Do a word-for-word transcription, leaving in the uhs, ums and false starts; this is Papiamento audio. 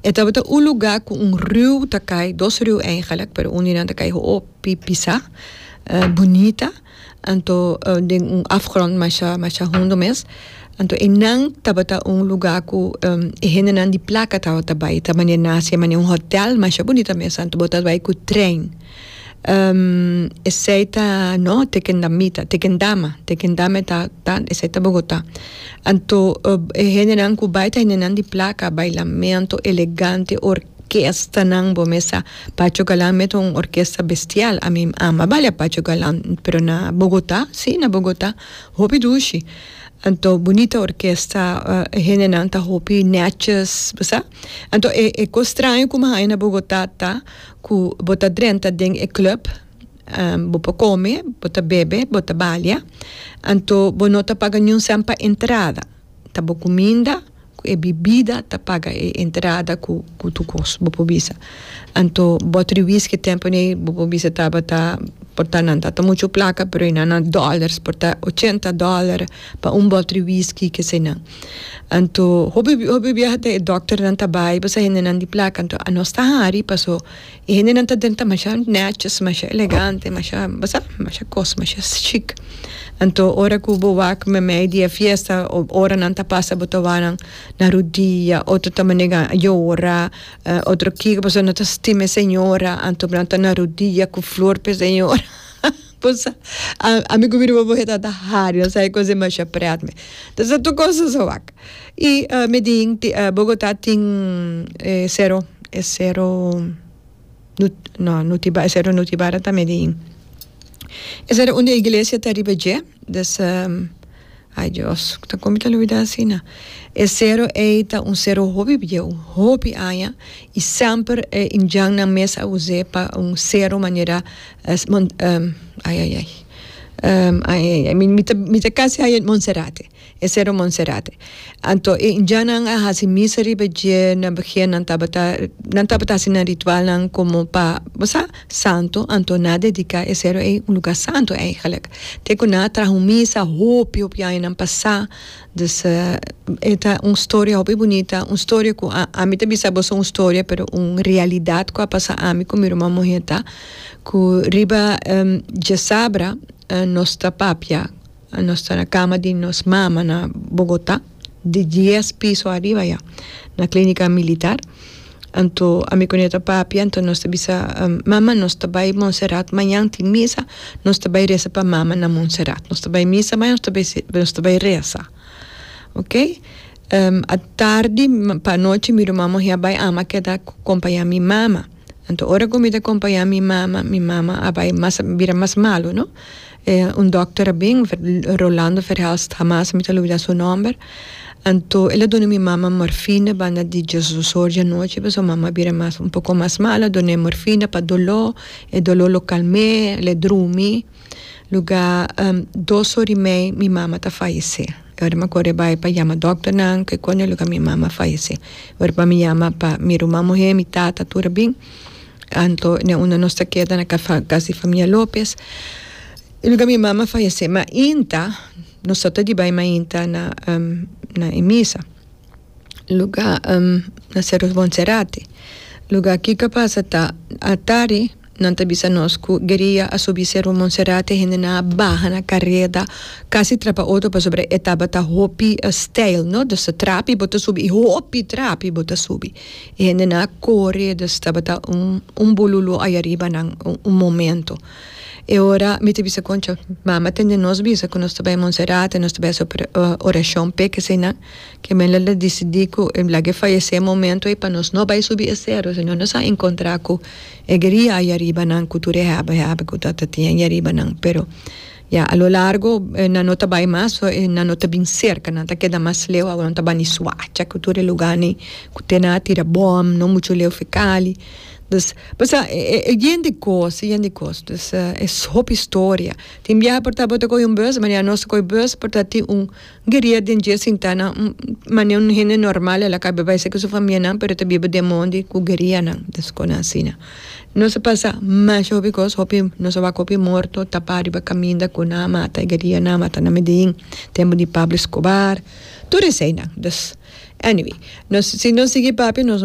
E tabata un lugá ku un riu ta kai, dos riu eigenlijk, pero un di nan ta kai hopi pisá, uh, bunita. Anto uh, den un afgrond masha masha hundo mes. Anto einan tabata un lugá ku um, e hendenan di plaka tabata bai, ta manera nasi manera un hotel masha bunita mes, anto bo ta bai ku trein. Um, esei ta, no, Tequendamita, Tequendama, Tequendama ta, ta, esei ta Bogotá. Anto uh, e hendenan ku bai ta hendenan di plaka, bailamento elegante, orkestanan, bo mes sa, Pacho Galán mes un orkesta bestial. Ami ama baila Pacho Galán, pero na Bogotá, si, na Bogotá, hopi dushi. Anto bunita orkesta, uh, hendenan ta hopi netjes, bo sa? Anto e e kos straño ku m'a haña na Bogotá ta ku bo ta drenta den e club, um, bo por kome, bo ta bebe, bo ta balia. Anto bo no ta paga niun sèn pa entrada. Ta bo kuminda e bebida ta paga e entrada ku ku tur kos, bo por bisa. Anto bòter whisky tempu ei, bo por bisa tabata por ta nan ta muchu plaka, pero na dollars, por ta ochenta dòler pa un bòter whisky ke sei nan. Anto hopi hopi biaha e dòkternan ta bai, bo sa, hendenan di plaka. Anto nos ta hari paso e hendenan ta drenta masha netjes, masha elegante, masha, bo sa, masha kos, masha chic. Anto ora ku bo wak meimei di e fiesta, ora nan ta pasa, bo ta wak nan na rudia, otro ta manera yora, uh, otro kiko, paso nan ta stima señora, anto nan ta na rudia ku flor pa señora. Pues ami ku mi ruman muhé ta hari, nos sa kos masha pret mes. Dus tur kos so wak. I uh, Medellín, uh, Bogotá tin eh, Sero, e Sero, no, Nutibara, Sero Nutibara ta Medellín. Esei unda e iglesia ta riba dje, dus um, ai Dios, ta kon mi ta lubidá asina. E sero ei ta un sero hopi bieu, hopi aña, i semper eh, indjannan mes a us'é pa un sero manera eh, mon, um, ai ai ai. Um, ai ai ai, mi mi ta mi ta kasi ai Monserrate. E Sero Monserrate. Anto e indjannan a hasi misa riba dje na begin, nan tabata nan tabata hasi nan ritualnan komo pa, bo sa, santo, anto nan a dediká e sero ei un lugá santo eigenlijk. Te ku nan a traha un misa hopi hopi añanan pasá. Dus uh, e ta un storia hopi bunita, un storia ku a, ami ta bisa boso un storia, pero un realidat ku a pasa ami ku mi ruman muhé ta ku riba um, djasabra uh, nos ta papia, nos ta na kama di nos mama na Bogotá, di dies piso ariba ya, na Klínika Militar. Anto ami kuné ta papia, anto nos ta bisa, um, "Mama, nos ta bai Montserrat, mañan tin misa, nos ta bai resa pa mama na Montserrat. Nos ta bai misa mañan, nos ta bai, nos ta bai resa." Ok? Um, atardi pa anochi mi ruman muhé a bai, ami a keda kompañá mi mama. Anto ora ku mi ta kompañá mi mama, mi mama a bai mas bira mas malu, no? Eh, un dòkter bin, Rolando Verhelst, hamas mi ta lubidá su nòmber. Anto el a duna mi mama morfina banda di diesdos or di anochi, paso mama a bira mas un poko mas malu, dun'é morfina pa doló, e doló lo kalm'é, el a drumi. Lugá um, dos or i mei mi mama ta fayesé. Ora mi a kore bai pa yama dòkternan, ku kuando lugá mi mama fayesé. Ora pa mi yama pa mi ruman muhé, mi tata, tur a bin. Anto ne unda nos ta keda na kas di famia Lopez. I lugá mi mama fayesé. Mainta, nos ta di bai mainta na um, na e misa. Lugá um, na Cerro Monserrate. Lugá kiko a pasa ta atardi nan ta bisa nos ku gueria a subi Cerro Monserrate, hendenan a baha na kareda, kasi trapa otro pasobra e tabata hopi steil, no? Dus trapi bo ta subi, hopi trapi bo ta subi. E hendenan a kore, dus tabata un un bululu ei ariba nan un, un momento. E ora mi ta bisa, "Koncha, mama a tende nos bisa ku nos ta bai Monserrate, nos ta bai hasi orashon p'e ke eseinan." Ke men el a disidí ku lag'é fayesé e momento ei pa nos no bai subi e sero, sino nos a enkontrá ku e gueria ei ariba nan ku tur e hèbè hèbè ku ta tin ei ariba nan. Pero ya a lo largo nan no ta bai mas, nan no ta bin serka, nan ta keda mas leu, awor nan ta bai Soacha ku tur e lugánan ku te nan a tira bòm, no muchu leu for Cali. Dus, pasobra e yen di kos, yen di kos. Dus e hopi historia. Tin biaha por ta bo ta kohe un bus, manera nos a kohe bus, por ta tin un gueria den dje sintá na manera un hende normal, el a kaba bai ku su famianan, pero ta biba den mondi ku guerianan, dus kon asina. Nos a pasa masha hopi kos, hopi, nos a wak hopi morto tapá riba kaminda ku nan a mata, e guerianan a mata na Medellín, tempu di Pablo Escobar, tur eseinan. Dus, anyway, nos, si nos sigui papia, nos no